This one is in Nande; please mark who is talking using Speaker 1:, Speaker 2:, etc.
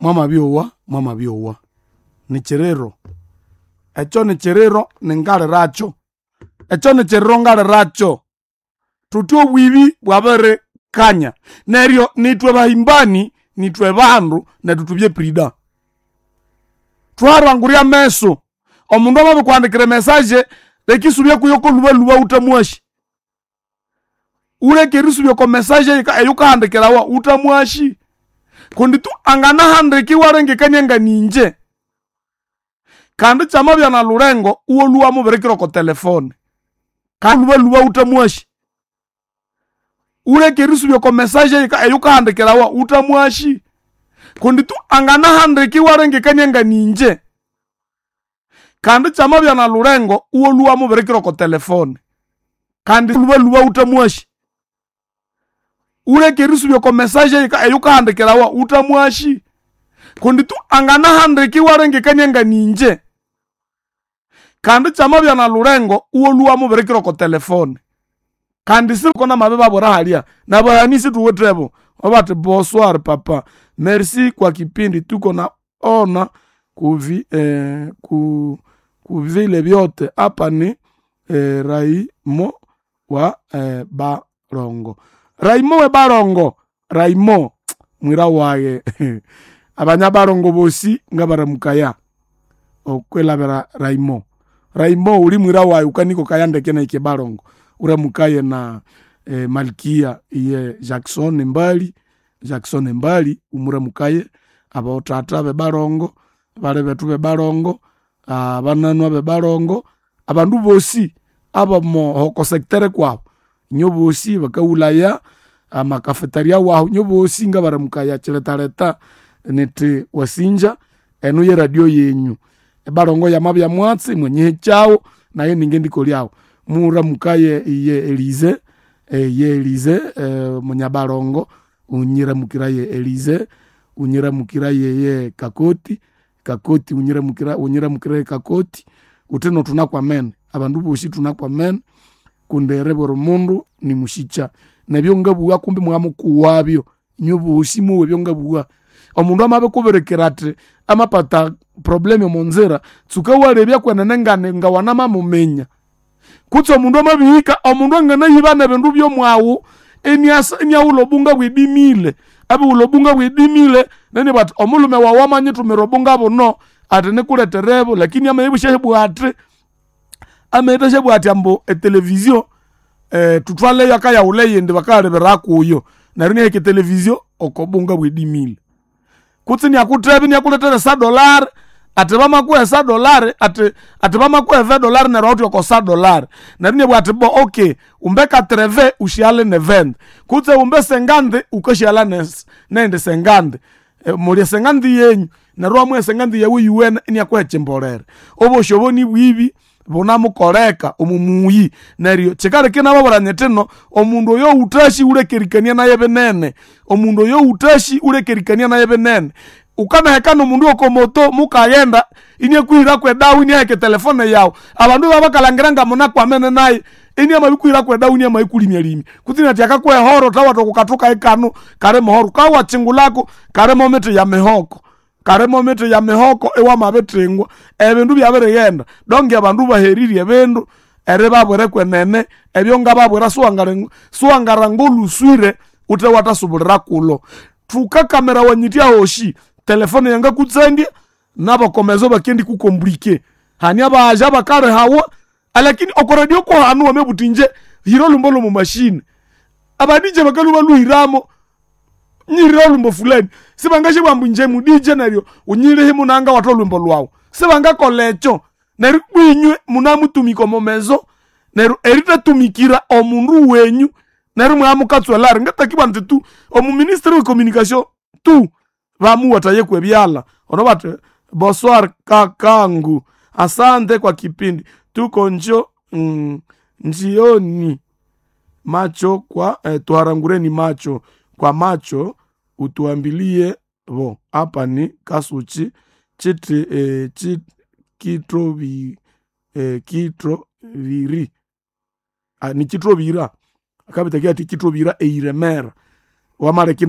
Speaker 1: Mwamabyowa, mwamabyowa nikyiriro ekyo nikyiriro ningaliracho, ekyo nikyiriro ngaliracho. Thuthi obwibi bwabirikanya neryo nithwe bahimbani, nithwe bandu nethu thubye prida. Thwarangurya ameso, omundu amabirikuhandikira emessage leka isubya kuyo kolhubalhuba wuthamwasi. Wuleke erisubya oko message eyukahandikirawa wuthamwasi kundi tu anganahandika iwalengekania nga ningye. Kandi kyamabya nalhulengo iwalhwa iwamubirikira oko telefone. Kalhubalhuba wuthamwasi. Wuleke erisubya oko message eyukahandikirawa wuthamwasi kundi tu anganahandika iwalengekania nga ningye. Kandi kyamabya nalhulengo iwalhwa iwamubirikira oko telefone. Kandi lhubalhuba wuthamwasi. Wuleke erisubya oko message eyukahandikirawa wuthamwasi kundi tu anganahandika iwalengekania nga ningye. Kandi kyamabya nalhulengo iwalhwa iwamubirikira oko telefone. Kandi namabibabwira halya nabaghani isithuwithebo babathi bonsoir papa merci kwa kipindi tuko naona kuvi kuvile vyote apa ni Raimo wa Barongo. Raimo we Barongo, Raimo mwira waye abanyabarongo bosi ngabaramukaya okwilabira Raimo. Raimo uli mwira waye ukanikokaya ndeke naike Barongo uramukaye na Malkia iye Jackson Mbali, Jackson Mbali umuramukaye, abothatha bebarongo, bali bethu bebarongo, abananwa bebarongo, abandu bosi abomo secteur kwabu inyo bosi bakawulaya amakafetaria wahu inyo bosi ngabaramukaya kyiretaleta nithi wasinja enu yeradio yenyu. Ebarongo yamabya mwatsi mwanyihikyawu nayo ningendikolyawu. Muramukaye iye Elize, iye Elize munyabarongo unyiramukiraye Elize, unyiramukiraye ye Kakoti, Kakoti unyiramukiraye Kakoti, wuthino thunakwamene abandu bosi thunakwamene kundi eribwira omundu nimusikya. Nebyo ngabugha kumbi mwamukuwabyo inywe bosi mowa ebyongabugha. Omundu amabikubirikira athi amapata problem omonzira tsuka iwalebya kwenene ngawanamamuminya. Kutse omundu amabihika omundu anganayiba nebindu byomwaghu iniaghulha obunga bwedimile, abighulha obunga bwedimile neni bathi omulhume waghu amanyithumira obunga buno athi nikuletherebu lakini amabya athi amayithasyabugha athi ambu etelevizio thuthwaleyo akayaghulha eyindi bakalebera kuyo neryo inaheka etelevizio oko bunga bwedimile. Kutse iniakutheba iniakulethera esadolari athi bamakuha esadolari athi athi bamakuha evedolari neryo awithe oko sadolari neryo inabugha athi bo okay umbe katreve usyighalhe neventi kutse umbe sengandi ukasyighalha neyindi sengandi mulye esengandi yenyu neryo iwamuha esengandi yawu yuwene iniakuha ekyimbolere. Obosi obo nibwibi bunamukoleka omo muyi neryo kyikaleka inababwira nyithi ino omundu oyo wuthasi wulekerikania nayo binene, omundu oyo wuthasi wulekerikania nayo binene. Wukanaheka nomundu yokomoto mukaghenda iniakuhiraku edawa iniaheka etelefone yawu abandu ibabakalhangira ngamunakwamene nayu iniamabikuhiraku edawa iniamabikulimyalimya kutse inathi akakuha ehoro thawatha oko kathu kayi kano kali mohoro wukabya iwakyingulako kalimo mithi ya mihoko, kalimo mithi ya mihoko iwamabithingwa ebindu byabirighenda donge abandu baherirye ebindu eribabwira kwenene ebyo ngababwira siwangalhanga olhuswire wuthe wathasubulira kulho. Thukakamirawa nyithya hosi telefone yangakutsandya nabakomezo bakendikukomplike hane abaghaya abakalihawa alakini oko radio kuhanu wamabugha wuthi inje hira olhwimbo lwomo machine aba DJ bakalhwa ibalhuhiramo nyihirire olhwimbo fulani sibangasyabugha ambu inje mu DJ neryo wunyirihe munanga watha olhwimbo lhwawu sibangakolha ekyo neryo ibwa inywe munamutumika omo mezo neryo erithatumikira omundu wenyu neryo imwaya ngatakibugha indi tu omu ministry we communication tu bamuwathayeku ebyalha ono bathi bonsoir kakangu asante kwa kipindi tuko njo njioni macho kwa tuharangureni macho kwa macho utuambilie bo apa ni kasuchi chiti kitroviri ni kitrovira akabitakia ati kitrovira eiremera wamaleki.